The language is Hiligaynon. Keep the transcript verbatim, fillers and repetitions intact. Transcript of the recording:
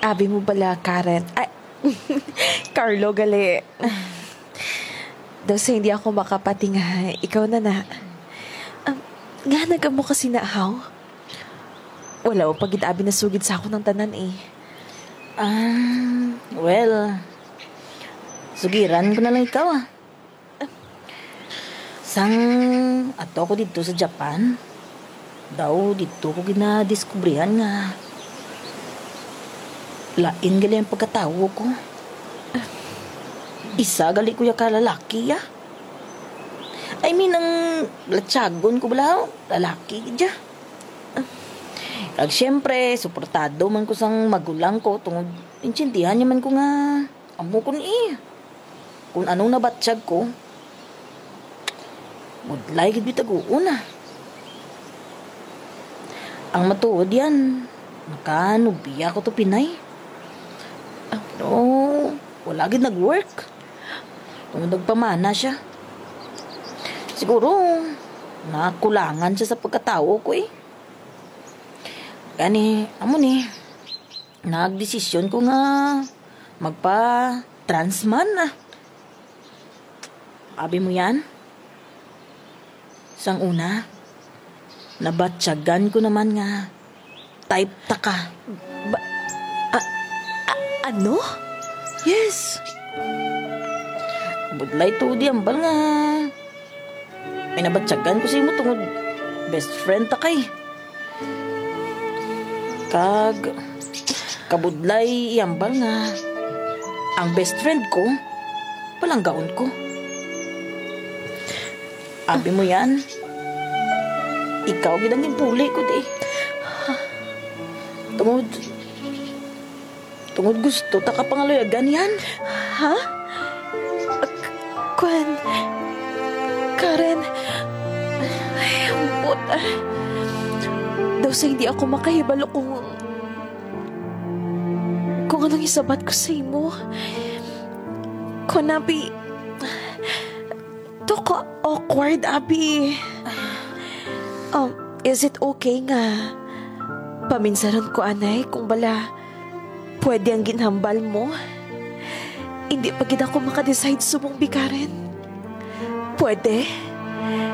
Abi mo bala, Karen? Ay, Carlo, gali. Daw sa hindi ako makapati nga, ikaw na na. Um, nga nagamo kasi na, haw? Wala pa gid abi nasugid sa akon ang tanan, eh. Ah, well, sugiran ko na lang ikaw, ah. Sang ato ako didto sa Japan, daw didto ko ginadiskubrihan nga lain gali ang pagkatawo ko. Isa gali ko ya ka lalaki, ya. I mean, ang latyagon ko bala, lalaki gid ya. Kag siyempre, suportado man ko sang magulang ko tungod intindihan niya man ko nga amo ko ni. Kung anong nabatyag ko, budlay gid bitaguon na. Ang matuod yan, makanubiya ko to Pinay. Pero wala gid nag-work. Tungod nagpamana siya. Siguro, nakulangan siya sa pagkatawo ko, eh. Gani, amo ni, nagdesisyon ko nga magpa-trans man, ah. Abi mo yan? Sang una, nabatyagan ko naman nga type ta ka. Ba- a- a- ano? Yes. Budlay to di ambal nga may nabatyagan ko sa imo tungod best friend ta kay. Kag kabudlay iambal nga ang best friend ko, palanggaon ko. Abi mo yan? Ikaw gid ang ginpuli ko, di. Tungod, tungod gusto ta ka pangaluyagan yan. Ha? K- Kwan, Karen, ay, ambot, ah. Daw sa hindi ako makahibalo kung, kung anong isabat ko sa imo. Kwan, abi, to ka awkward, abi. Um, is it okay nga paminsaron ko anay kung bala pwede ang ginhambal mo? Hindi pa gid ako makadecide subong, bi, Karen. Pwede?